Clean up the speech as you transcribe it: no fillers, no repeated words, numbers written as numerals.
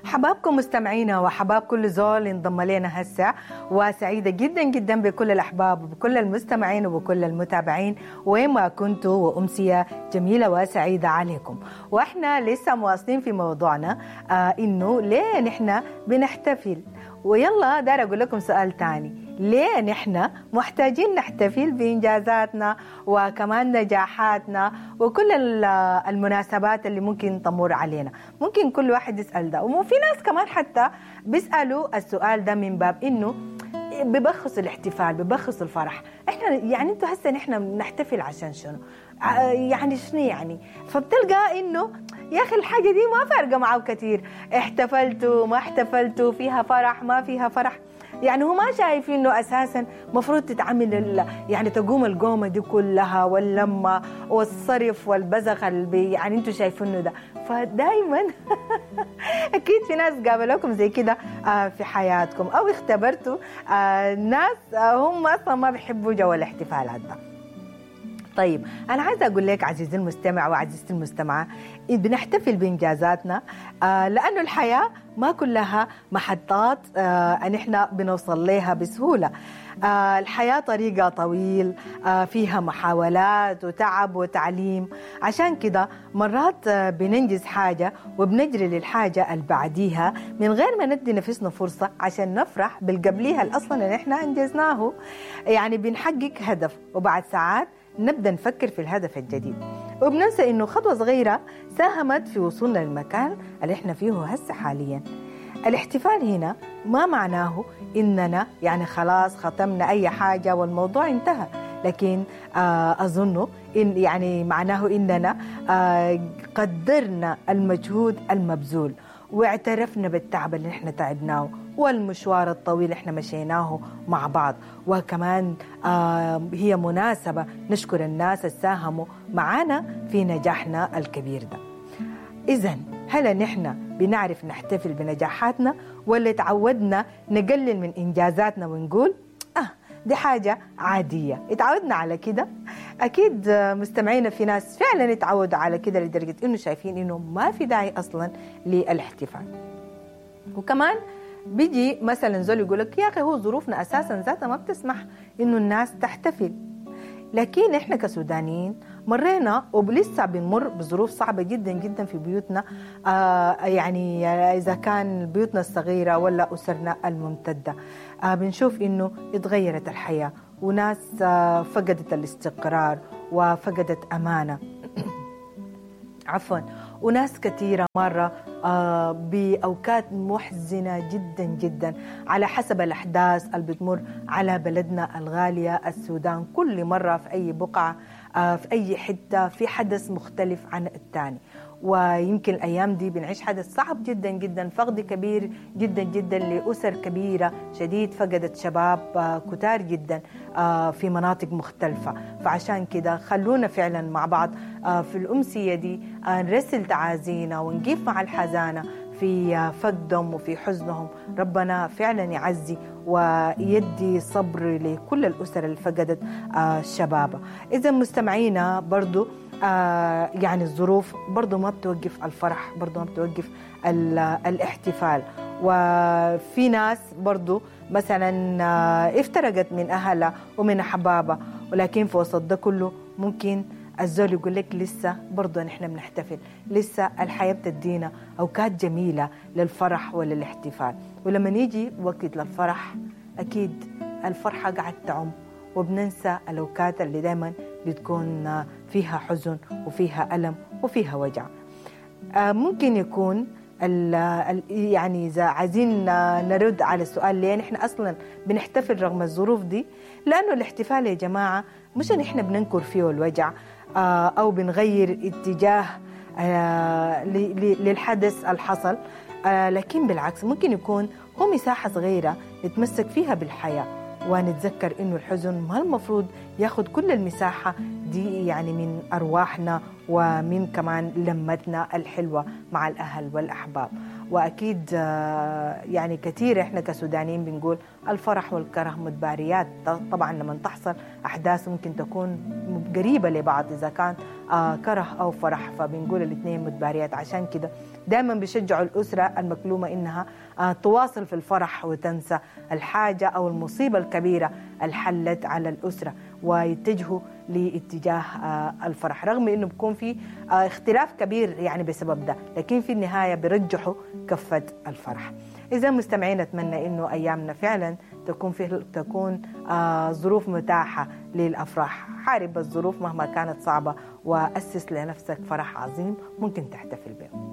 حبابكم مستمعينا وحباب كل زول انضم لنا هسه، وسعيدة جدا جدا بكل الأحباب وبكل المستمعين وبكل المتابعين وين ما كنتوا، وأمسية جميلة وسعيدة عليكم. وإحنا لسه مواصلين في موضوعنا إنه ليه نحن بنحتفل. ويلا دار أقول لكم سؤال تاني، ليه نحن محتاجين نحتفل بإنجازاتنا وكمان نجاحاتنا وكل المناسبات اللي ممكن تمر علينا؟ ممكن كل واحد يسأل ده، وفي ناس كمان حتى بيسألوا السؤال ده من باب إنه ببخص الاحتفال، ببخص الفرح. احنا يعني انتوا هسه نحن بنحتفل عشان شنو؟ يعني شنو يعني؟ فبتلقى انه يا اخي الحاجة دي ما فارقه معه كثير، احتفلتوا ما احتفلتوا، فيها فرح ما فيها فرح. يعني هو ما شايف انه اساسا مفروض تتعمل يعني تقوم القومه دي كلها واللمه والصرف والبزخ اللي يعني انتوا شايفينه ده. فدايما اكيد في ناس قابلوكم زي كده في حياتكم او اختبرتوا ناس هم اصلا ما بيحبوا جو الاحتفالات ده. طيب أنا عايزة أقول لك عزيزي المستمع وعزيزتي المستمعة، بنحتفل بإنجازاتنا لأنه الحياة ما كلها محطات نحن بنوصل لها بسهولة. الحياة طريقة طويل فيها محاولات وتعب وتعليم، عشان كده مرات بننجز حاجة وبنجري للحاجة اللي بعديها من غير ما ندي نفسنا فرصة عشان نفرح بالقبليها الأصلا اللي نحن أنجزناه. يعني بنحقق هدف وبعد ساعات نبدأ نفكر في الهدف الجديد، وبننسى إنه خطوة صغيرة ساهمت في وصولنا للمكان اللي إحنا فيه هسه حاليا. الاحتفال هنا ما معناه إننا يعني خلاص ختمنا أي حاجة والموضوع انتهى، لكن أظن إن يعني معناه إننا قدرنا المجهود المبذول واعترفنا بالتعب اللي احنا تعبناه والمشوار الطويل اللي احنا مشيناه مع بعض. وكمان هي مناسبة نشكر الناس اللي ساهموا معانا في نجاحنا الكبير ده. إذن هل نحن بنعرف نحتفل بنجاحاتنا ولا تعودنا نقلل من إنجازاتنا ونقول دي حاجة عادية، اتعودنا على كده؟ أكيد مستمعينا في ناس فعلا اتعودوا على كده لدرجة إنه شايفين إنه ما في داعي أصلا للاحتفال. وكمان بيجي مثلا زول يقولك يا أخي هو ظروفنا أساسا ذاتها ما بتسمح إنه الناس تحتفل. لكن إحنا كسودانيين مرينا ولسه بنمر بظروف صعبة جدا جدا في بيوتنا، يعني إذا كان بيوتنا الصغيرة ولا أسرنا الممتدة، بنشوف إنه اتغيرت الحياة وناس فقدت الاستقرار وفقدت أمانة عفوا، وناس كثيرة مرة بأوقات محزنة جدا جدا على حسب الأحداث اللي بتمر على بلدنا الغالية السودان. كل مرة في أي بقعة في أي حتة في حدث مختلف عن الثاني، ويمكن الأيام دي بنعيش حدث صعب جدا جدا، فقد كبير جدا جدا لأسر كبيرة شديد فقدت شباب كتار جدا في مناطق مختلفة. فعشان كده خلونا فعلا مع بعض في الأمسية دي نرسل تعازينا ونقف مع الحزانة في فقدهم وفي حزنهم. ربنا فعلا يعزي ويدي صبر لكل الأسر اللي فقدت شبابها. إذا مستمعينا برضو يعني الظروف برضو ما بتوقف الفرح، برضو ما بتوقف الاحتفال. وفي ناس برضو مثلا افترقت من أهلها ومن أحبابها، ولكن في وسط ده كله ممكن الزول يقول لك لسه برضو نحن بنحتفل، لسه الحياة بتدينا أوقات جميلة للفرح وللاحتفال. ولما نيجي وقت للفرح أكيد الفرحة قاعد تعم، وبننسى الأوقات اللي دايما بتكون فيها حزن وفيها ألم وفيها وجع. ممكن يكون يعني إذا عايزين نرد على السؤال ليه نحن أصلا بنحتفل رغم الظروف دي، لأنه الاحتفال يا جماعة مش إن إحنا بننكر فيه الوجع أو بنغير اتجاه للحدث الحصل، لكن بالعكس ممكن يكون هو مساحة صغيرة نتمسك فيها بالحياة ونتذكر إنه الحزن ما المفروض ياخد كل المساحة دي يعني من أرواحنا ومن كمان لمتنا الحلوة مع الأهل والأحباب. وأكيد يعني كثير إحنا كسودانيين بنقول الفرح والكره متباريات. طبعا لما تحصل أحداث ممكن تكون قريبة لبعض إذا كان كره أو فرح، فبنقول الاثنين متباريات. عشان كده دائما بيشجعوا الأسرة المكلومة إنها تواصل في الفرح وتنسى الحاجة أو المصيبة الكبيرة الحلت على الأسرة، ويتجهوا لاتجاه الفرح، رغم إنه بيكون في اختلاف كبير يعني بسبب ده، لكن في النهاية بيرجحوا كفة الفرح. إذا مستمعين، أتمنى إنه أيامنا فعلا تكون ظروف متاحة للأفراح. حارب الظروف مهما كانت صعبة، وأسس لنفسك فرح عظيم ممكن تحتفل به.